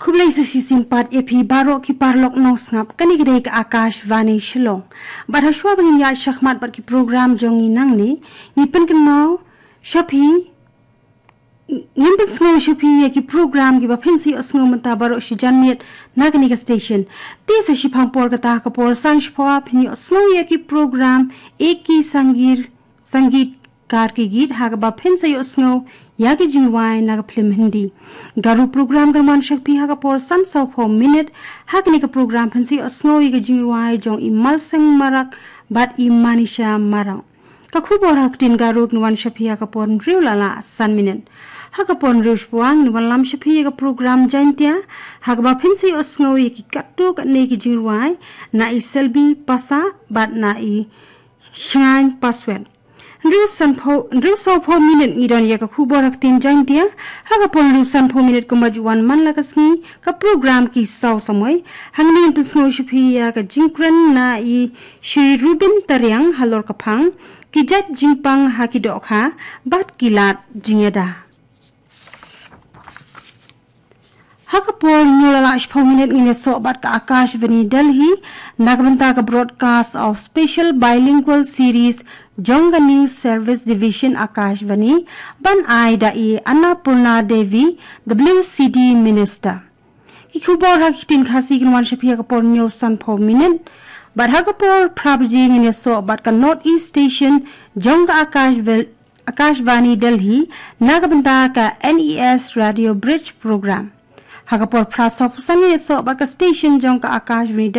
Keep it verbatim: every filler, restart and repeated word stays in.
Khublei sa shisien pat ïa phi baroh ki paralok nongsngap, kane ka dei ka Akashvani Shillong. Bad hashwa ba ngin ïaid shakhmat bad ki program jong ngi nangne, ngi pynkynmaw sha phi, ngin pynsngew sha phi ïa ki program kiba phin sa ïohsngew mynta baroh shi janmiet na kane ka station. Te sa shiphang por kata, ha ka por san shiphew phin ïohsngew ïa ki program Ek Hi Sangeet, Sangeetkar Ki Geet, ha kaba phin sa ïohsngew ïa ki jingrwai na ka phlim Hindi. Garo program kan wan sha phi ha ka por san sawphew minit. Ha kane ka program phin sa ïohsngew ïa ki jingrwai jong i Malseng Marak bad i Manisha Marak. Ka khubor ha ka ktien Garo kan wan sha phi ha ka por hynriew la lah san minit. Ha ka por hynriew shiphew ngan wanlam sha phi ïa ka program Jaintia, ha kaba phin sa ïohsngew ïa ki katto katne ki jingrwai na i Selbi Pasa bad na i Shngain Paswet. Hynriew sanphew, hynriew sawphew minit ngi don ïa ka khubor ha ka ktien Jaintia. Ha ka por hynriew sanphew minit kumba ju wan man la ka sngi, ka program Ki Saw Samoi. Hangne ngin pynsngew sha phi ïa ka jingkren na i Shri Rubin Tariang halor ka phang, ki jait jingpang ha ki dohkha bad ki lad jingïada. Ha ka por hynñiew la lah shiphew minit ngin ïasoh bad ka Akashvani Delhi na ka bynta ka broadcast of special bilingual series jong ka News Service Division Akashvani, ban ai da i Annapurna Devi, W C D Minister. Ki khubor ha ki ktien Khasi kan wan sha phi ha ka por hynñiew sanphew minit. Bad ha ka por phra baje ngin ïasoh bad ka North East Station jong ka Akashv-, Akashvani Delhi na ka bynta ka N E S Radio Bridge Program. Ha ka por phra sawphew san ngin ïasoh bad ka station jong ka Akashvani Delhi